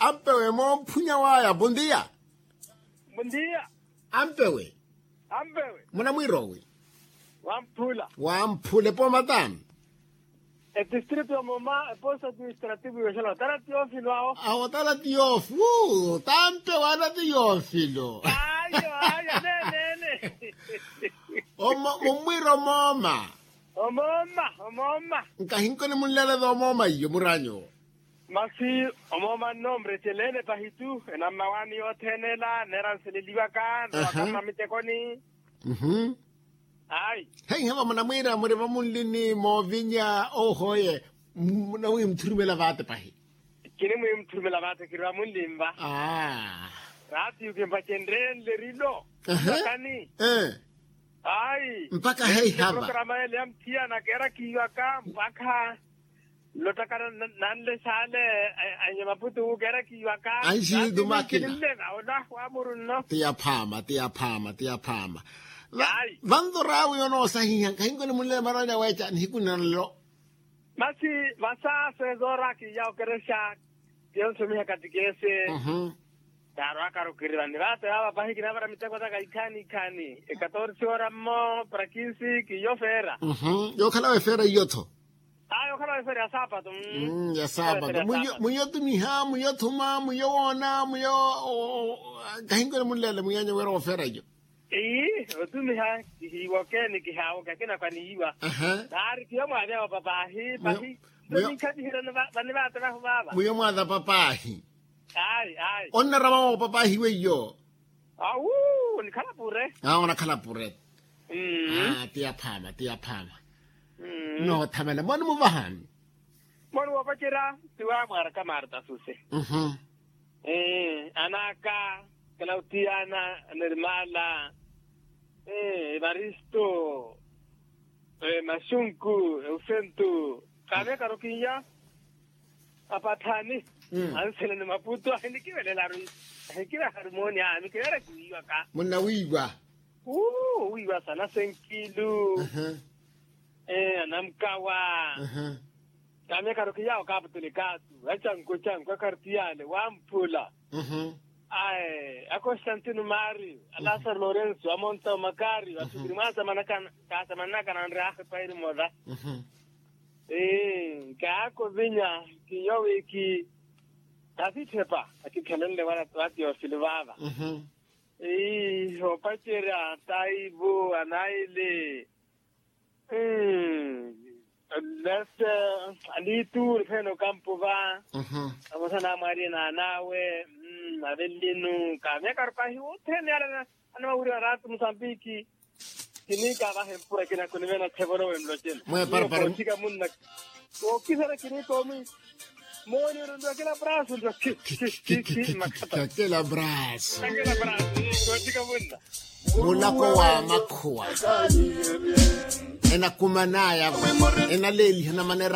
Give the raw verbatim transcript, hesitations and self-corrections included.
Ampewe moomphunya waya bondia. Bondia. Ampewe. Ampewe. Munamwirowi. Wamphula. Wamphula epooma tani. Etistritu ya moma eposa administrativu yoxela otala tiyofilo awo. Awo otala tiyofu. Tampewe ana tiyofilo. Ayo ayo nenene. Omo mumwira omooma. Omooma omooma. Nkahinkoni munleleza omooma iyo muranyo. Masi omooma nnombre celene pahitu enammawaani yothene ela neera nseleliwaka nowaka mmamitekoni. Ayi. Heiha vamunamwiira muri vamunlini moovinya ohoye. Munamwiimutthurumela vaate pahi. Kinimwiimutthurumela vaate kiri vamunlinva. Raatiyu kimpacenreenle rilo. Kani. Ayi. Mpakha heiha va programa ele ya mthiyana keera kiiwaka mpakha nlottaka nanle saale. Anye maputu keera kiiwaka anxiitu makina. Olahu amuru nno. Tiyaphaama tiyaphaama tiyaphaama. Vanto raawi onoosahiha nkahinkoni munlele maranya weeca nihiku nna nlo. Masi vasa sezoora kiiya okerexa. Kiyonsumiha katikese. Taarwaka rukirira ni vaate vaava pahi kinavara miteko taka ikhaani ikhaani ekatorsi ora mmo para kinsi kiyo feera. Yookhala wefeera iyo-tho. Aa yookhala wefeera ya saapato. Ya saapato. Muyo tumiha muyo thuma muyo woona muyo. Kahinkoni munlele muyo anya wira woofeera iyo. Ii otumiha kihiiwoke ni kihaawoke akina kwaniyiwa. Naari kiyo mwaavya opapaahi pahi. Ninkhaviherya vanivaate vahu vaava muyo mwaatha papaahi. Ayi ayi. Onnarama opapaahi weiyo. Awu onikhala pure. Aa onakhala pure. Tiyaphaama tiyaphaama. Noothamela moni muvahani. Moni woopacerya. Tiwa mwaaraka marta suse. Anaka clautiana, nermala, evaristo, maxunku, eusentu. Kaamyakaru kinya apathani. Anseleni maputu ahinikivelelaru. Ahikivaharu mooni ami kiveera kiwiiwaka. Munnawiiwa. Owiiwa sana senkilu. Anamkawa. Kaamyakaru kiyawo kaaputulikaatu acanku acanku akartiyale wamphula. Ae a constantino mario a lasaro lorenso a monta o makario atukiri mwaasamanaka. Kaasamanaka nanre ahepa eri mola. Ee nkaakovinya kiyo wiki. Kasithepa akikhelenle wala wa tiofilo vaava. Ee opacerya taivo anaili. Lese aniitu nifeene okampo va. Amosa namwarina anawe. Avelinu kaamyakaru pahi wothene yala. Anamawuriwa naatu musambiki. Kiniikavaha empura kinaku niveena thevolowe nlocena. Kooparpara kookiherya kiniikoomi. Mooni orondiwa kila brasu ndio. Kila brasu. Mulako wa makhuwa enakumanaya enaleeliha na manera.